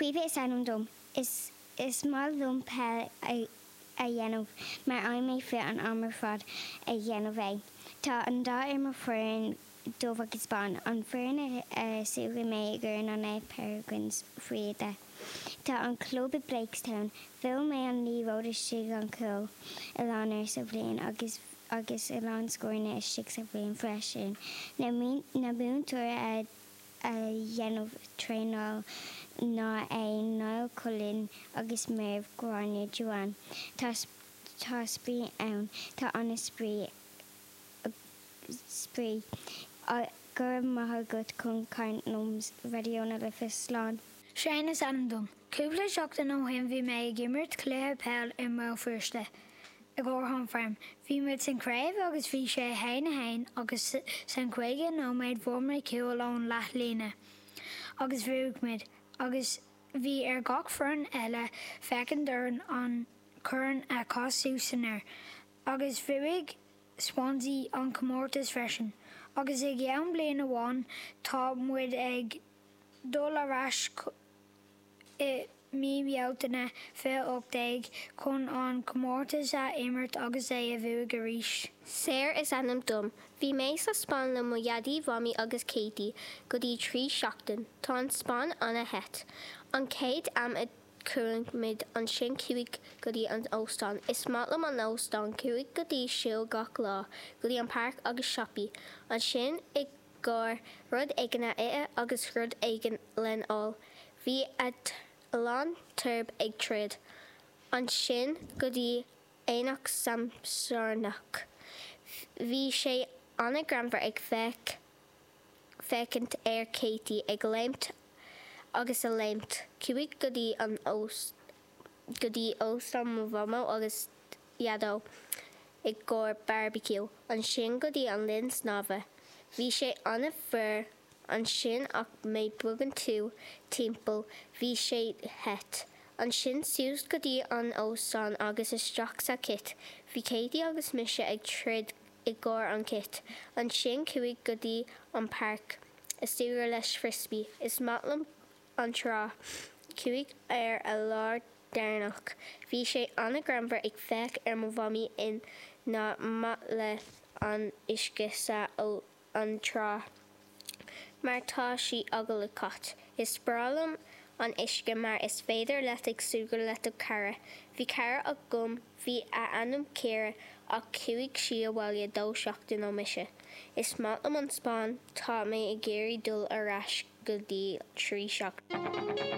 Caoimhe is ainm dom. Is is maith liom peil a a dhéanamh mar fhaigheann mé fit an am ar fad ag dhéanamh é. Tá an dath ar mo foireann dubh agus bán. An foireann a súgradh mé i gcomhair ná na Peregrines faoi 10. Tá an club i Blakestown. Bhuail mé an liathróid istigh an cúl a lán uair sa bhliain agus agus a lán scóranna istigh sa bhliain freisin. Na na múinteoirí a a dhéanamh traenáil ná é Niall Cullen agus Méabh Gráinne Joanne. Tá tá spraoi ann. Tá ana spraoi spraoi. Go raibh maith agat chun caint liom Raidió na Life. Slán. Shane is ainm dom. Cúpla seachtain ó shin bhí mé ag imirt cluiche peil i mBéal Feirste i gcomhair Home Farm. Bhí muid san craobh agus bhí sé 1 1 agus san 50 nóiméad bhuail mé cúl ón leath líne agus bhuaigh muid agus bhí ar gach foireann eile féachaint orainn an corn a chaith suas san aer agus bhuaigh Swansea an comórtas freisin agus i gceann bliain amháin tá muid ag dul ar ais i mí Bealtaine 2018 chun an comórtas a imirt agus é a bhuaigh arís. Sarah is ainm dom. Bhí mé sa Spáinn le mo Dhaidí, Mhamaí agus Katie go dtí 3 seachtain. Tá an Spáinn ana-the. An chéad am a chuaigh muid ansin chuaigh go dtí an óstán. Is maith liom an óstán. Chuaigh go dtí siúl gach lá, go dtí an páirc agus siopaí. Ansin i gcomhair rud éigin a ithe agus rud éigin len ól. Bhí a lán turb ag troid. Ansin go dtí aonach Samsarnach. Bhí sé ana-greannmhar ag féach féachaint ar Katie ag léimt agus a léimt. Chuaigh go dtí an go dtí óstán mo mhamó agus dhaideo i gcomhair barbecue, ansin go dtí an linn snámha. Bhí sé an-fhuar ansin ach má bogann tú timpeall bhí sé the. Ansin suas go dtí an óstán agus isteach sa cit. Bhí Katie agus mise ag troid i gcomhair an cit. Ansin chuaigh go dtí an páirc a súgradh leis frisbee. Is maith liom an trá. Chuaigh ar a lá deireanach. Bhí sé an-ghreannmhar ag féach ar mo mhamaí in nach maith lei an uisce sa an trá mar tá sí eagal le cait. Is breá liom an uisce mar is féidir leat ag súgradh le do cara. Bhí cara agam bhí a ainm Ciara ach chuaigh sí abhaile dó seachtain ó mise. Is maith liom an Spáinn tá mé ag iarraidh dul ar ais go dtí 3 seachtain.